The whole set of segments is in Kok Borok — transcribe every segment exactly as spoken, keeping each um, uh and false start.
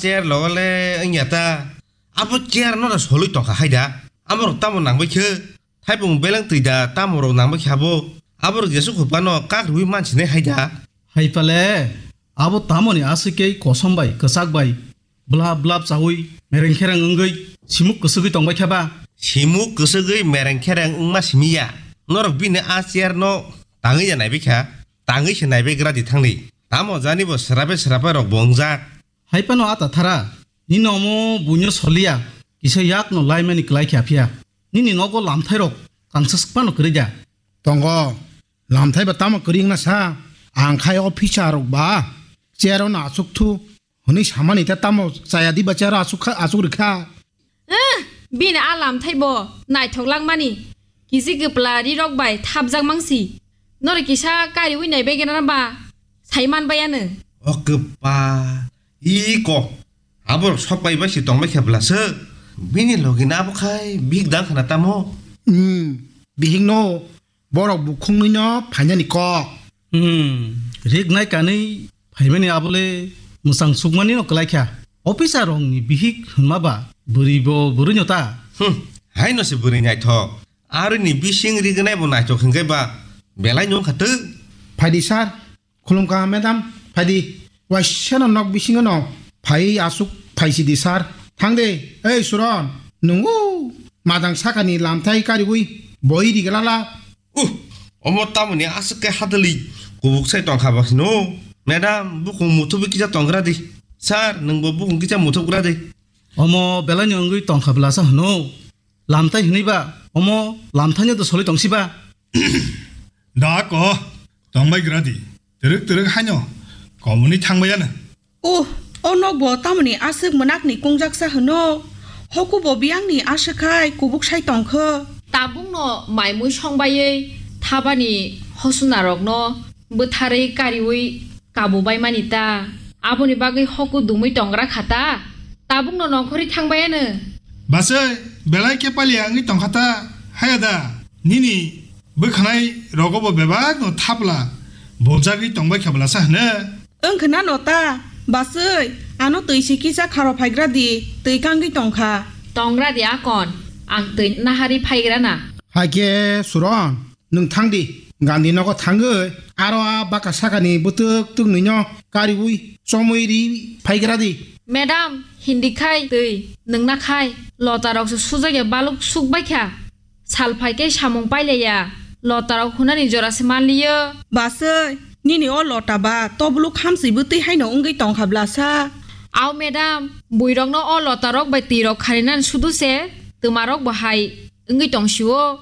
Chair logo le wngya ta. Abo chair no da solwi tongkha hai da. Amo rok tamo nangbai khe. Thaipung beleng twi da tamo rok nangbai khe abo. Abo rok jesu khupano kak rwi mansinai hai da. Hai pale, abo tamoni aswk kei kosom bai, kwchak bai, blap blap chaui, mereng khereng wngwi, simuk kwswgwi tongbai khe ba? Simuk kwswgwi mereng khereng wngma simi ya. Norok bini a chair no tangwi ya naibai kha. Tangwi se naibai gra di thangni. Tamo jani bo srabe srabe rok bo wngjak. Hai phano ata thara, nini omo buino soliya, kisa yakno laimani kwlai khe aphiya. Nini nogo lamthairok kangsa swk phano kwrwi da? Tongo, lamthai ba tamo kwrwi wngna sa? Ang khai o phisa rok ba chair o no achuk thu hwnwi samani ta tamo chaya di ba chair o achuk kha, achuk rikha. Eh, bini a lamthai bo naithok langmani. Kisi kwpla rirok bai thapjak mangsi. Norok kisa kariwi naibai gana ba? Sai manbai ano. O kwpa, iko. Aborok sok pai bai si tongbai khe bwlasa. Bini logi na abo khai bihik dang khana tamo. Hmm, bihik no borok bukhungni no phainani kok. Hmm, rik nai kanwi phaimani abole mwchang sukmani no kwlai kha. Officer rokni bihik hwnma ba bwrwi bo bwrwi no ta. Hmm, hai no se bwrwi naithok. Aroni bising rignai bo naithok hwnkhe ba belai no wngkha twk. Phaidi sir, khulumkha madam, phaidi. Waisano nok bisingo no phai asuk phaisidi sir. Thangde, ei Suron, nungu madang sakani lamthai kariwi boi riglala. Uh, omo tamoni aswk khe hadali kubuk sai tongkha ba hino. Madam, bukhung muthubi kisa tonggra di. Sir, nwngbo bukhung kisa muthubgra di. Omo belaino wngwi tongkha bwlasa hino. Lamthai hwnwi ba, omo lamthaino do soli tongsi ba. Da ko, tongbai gra di. Twrwk twrwk haino komoni thangbai ano. Uh, o nok bo tamoni aswk mwnakni kungjaksa hwno? Hoku bo biyangni aswk khai kubuk sai tongkho. Tabukno maimui songbaiwi thabani hosunarokno bwtharwi kariwi kabubaimani ta. Aboni bagwi hoku dumwi tongra kha ta. Tabukno nongkhorwi thangbaiano. Basai, belai khe paliya wngwi tongkha ta. Haya da, nini bwkhanai rogo bo bebak no thapla boljagwi tongbai kha bwlasa hwno. Wng khna no ta, basai, ano twi si kisa kharo phaigra di, twi kangwi tongkha. Tongra di akon, ang twi nahari phaigra na. Hai khe Suron, nwng thang di, Gandhi nogo thangwi, aro a baka sakani bwtwk twk nwi no kariwi chomwi ri phaigra di. Madam, Hindi khai twi, nwng na khai, lota rok se sujak ya baluk suk bai kha. Sal phai khe samung pailaiya, lotarok hunani jora se manliyo. Basai, nini o lota ba tobuluk hamswi bwtwi haino wngwi tongkha bwlasa. Au madam, buirokno o lotarok bai twirok kharinani sudu se, twmarok bo hai wngwi tongsio.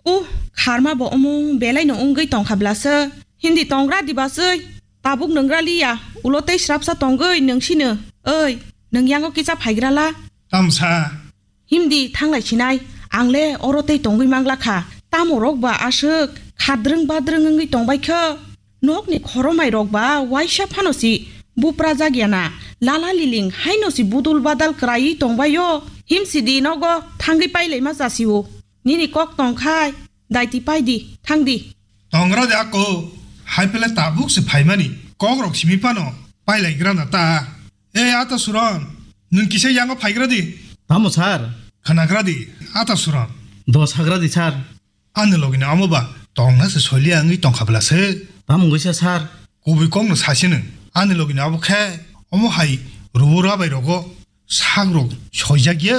Uh, kharma bo omung belaino wngwi tongkha bwlasa. Hindi tongra di basai, tabuk nwngra liya, ulo tei srapsa tongwi nungsino. Oi, nwng yango kisa phaigrala. Tamsa. Himdi thanglai sinai, ang le oro tei tongwi mangla kha. Tamo rok ba aswk khadrwng badrwng wngwi tongbai kho. Nokni khoromai rok ba waisa phano si bupra jak ya na. Lala liling haino si budul badal kwraiwi tongbai o. Himsidi nogo thangwi pailai ma chasi o. Nini kok tong khai, daiti pai di, thang di. Tongra de ako, hai pele tabuk se phaimani. Kok rok simi phano pailai gra na ta. Ei, ata Suron, nwng kisa yango phaigra di. Tamo sir? Khwnagra di, ata Suron. Dos hagra di sir. Ani logini amo ba tongna se soiliya wngwi tongkha bwla se. Tamo wngwi sa sir? Kubui kokno sasi nwng. Ani logini abo khe omo hai rubu rabai rogo sak rok soijak ya.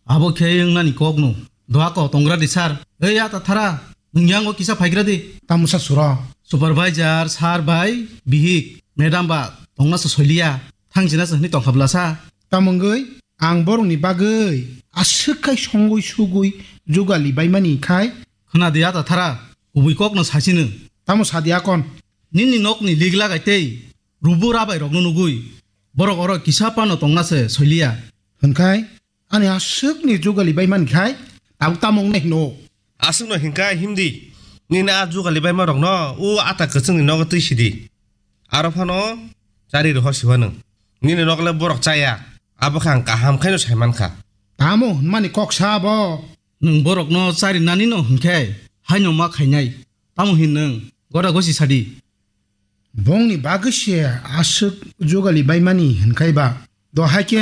Abo khe wngnani kokno. Doha ko tongra di sir. Ei ata thara, nwng yango kisa phaigra di. Tamo sa Suron? Supervisor, sir bai, bihik, madam ba tongna se soiliya. Thang jina se hwnwi tongkha bwla sa. Tamo wngwi ang borokni bagwi aswk khai songwi sugwi jugali baimani khai. Khwna di ata thara, kubui kokno sasi nwng. Tamo sa di akon? Nini nokni lig lagai tei rubu rabai rokno nugwi borok oro kisa phano tongna se soiliya. Hwnkhai ani aswkni jugali baimani khai tabuk tamo wngnai hino. Aswkno hinka himdi, nini a jugali baima rokno o ata kwchwngni nogo twi sidi. Aro phano chari rohor siwa nwng. Nini nok le borok chaya, abo khe ang kaham khaino sai mankha. Tamo hwnmani kok sa abo? Nwng borokno chari nani no hwnkhe haino ma khainai. Tamo hin nwng? Gora gosi sadi. Bongni bagwi se aswk jugali baimani hwnkhai ba? Dohai khe